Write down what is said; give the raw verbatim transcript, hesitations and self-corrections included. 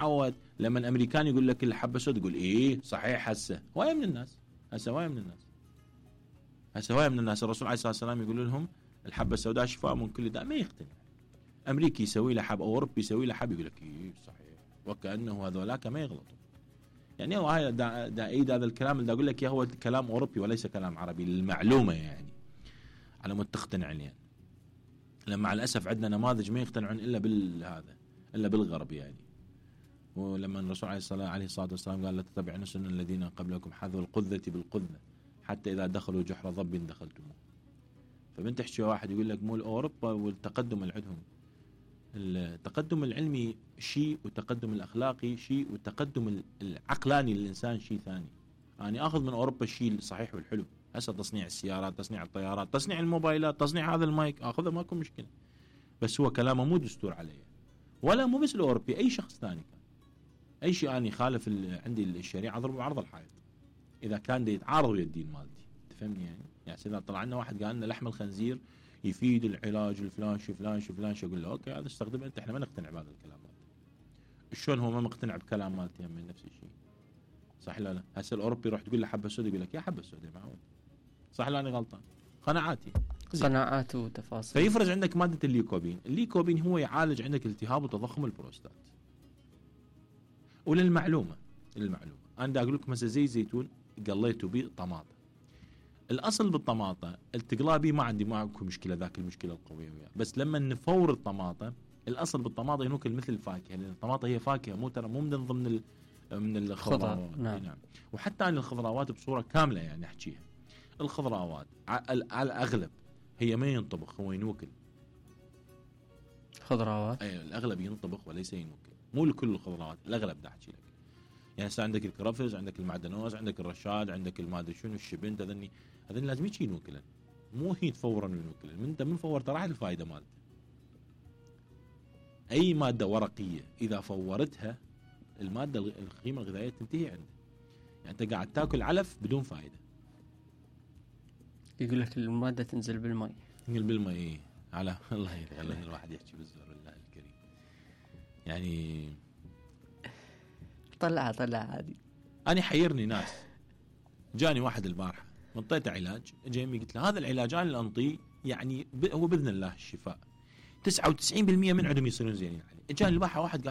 عود لما الامريكان يقول لك الحبه السوداء تقول ايه صحيح. هسه هوايه من الناس هسه هوايه من الناس هسه هوايه من الناس الرسول عليه الصلاه والسلام يقول لهم الحبه السوداء شفاء من كل داء، ما يقتنع. امريكي يسوي له حب او اوروبي يسوي له حب يقول لك ايه صحيح، وكانه هذولاك ما يغلطوا. يعني هو هاي دا, دا ايد هذا الكلام اللي اقول لك هو كلام اوروبي وليس كلام عربي للمعلومه، يعني على مود تقتنع يعني. لما مع الاسف عندنا نماذج ما يقتنعون الا بالهذا الا بالغرب يعني. ولما الرسول عليه الصلاه عليه الصلاه والسلام قال لا تتبعون سنن الذين قبلكم حذو القذة بالقذة حتى اذا دخلوا جحر ضب دخلتموه. فبنت تحكي واحد يقول لك مو اوروبا والتقدم اللي عندهم، التقدم العلمي شيء والتقدم الاخلاقي شيء والتقدم العقلاني للانسان شيء ثاني. انا يعني اخذ من اوروبا الشيء الصحيح والحلو، هسه تصنيع السيارات، تصنيع الطيارات، تصنيع الموبايلات، تصنيع هذا المايك، اخذه ماكو مشكله. بس هو كلامه مو دستور علي، ولا مو بس الاوروبي، اي شخص ثاني كان اي شيء اني يخالف عندي الشريعه اضربه بعرض الحائط اذا كان دي يتعارض ويا الدين مالتي. تفهمني يعني؟ يعني اذا طلع لنا واحد قال لنا لحم الخنزير يفيد العلاج الفلان شو فلان شو فلان شو، اقول له اوكي هذا استخدمه انت، احنا ما نقتنع بهذا الكلام مالته. شلون هو ما مقتنع بكلام مالتي من نفس الشيء؟ صح لا لا؟ هسه الاوروبي يروح تقول له حبه سوداء يقول لك يا حبه سوداء معود. صح لا انا غلطان؟ قناعاتي قناعات وتفاصيل. فيفرز عندك ماده الليكوبين، الليكوبين هو يعالج عندك التهاب وتضخم البروستات. وللمعلومه للمعلومه انا اقول لكم هسه زي زيتون قليته به طماطه. الاصل بالطماطه التقلاه بيه ما عندي ماكو مشكله، ذاك المشكله القويه وياه. بس لما نفور الطماطه، الاصل بالطماطه ينوكل مثل الفاكهه، لان الطماطه هي فاكهه مو ترى مو من ضمن ال من الخضروات. نعم. نعم. وحتى عن الخضروات بصوره كامله يعني احكيها، الخضروات على الاغلب هي ما ينطبخ، هو ينوكل. خضروات اي الاغلب ينطبخ وليس ينوكل، مو لكل الخضروات، الاغلب دا احكي لك. يعني هسه عندك الكرفس، عندك المعدنوس، عندك الرشاد، عندك المادري شنو الشبنت، هذني هذني لازم يجي ينوكلن، مو هي فورا ينوكلن. من انت من فورت راحت الفائده مالته. اي ماده ورقيه اذا فورتها الماده القيمه الغذائيه تنتهي عنده. يعني انت قاعد تاكل علف بدون فائده. يقول لك الماده تنزل بالماء. تنزل بالماء إيه؟ على الله يخلي الواحد يحكي بالزور الله الكريم. يعني طلعها طلعها عادي. أنا حيرني ناس، جاني واحد البارحة انطيته علاج، جاي قلت له هذا العلاج أنا اللي أنطيه يعني هو بإذن الله الشفاء، تسعة وتسعين بالمئة من عندهم يصيرون زينين عليه. جاني البارحة واحد قال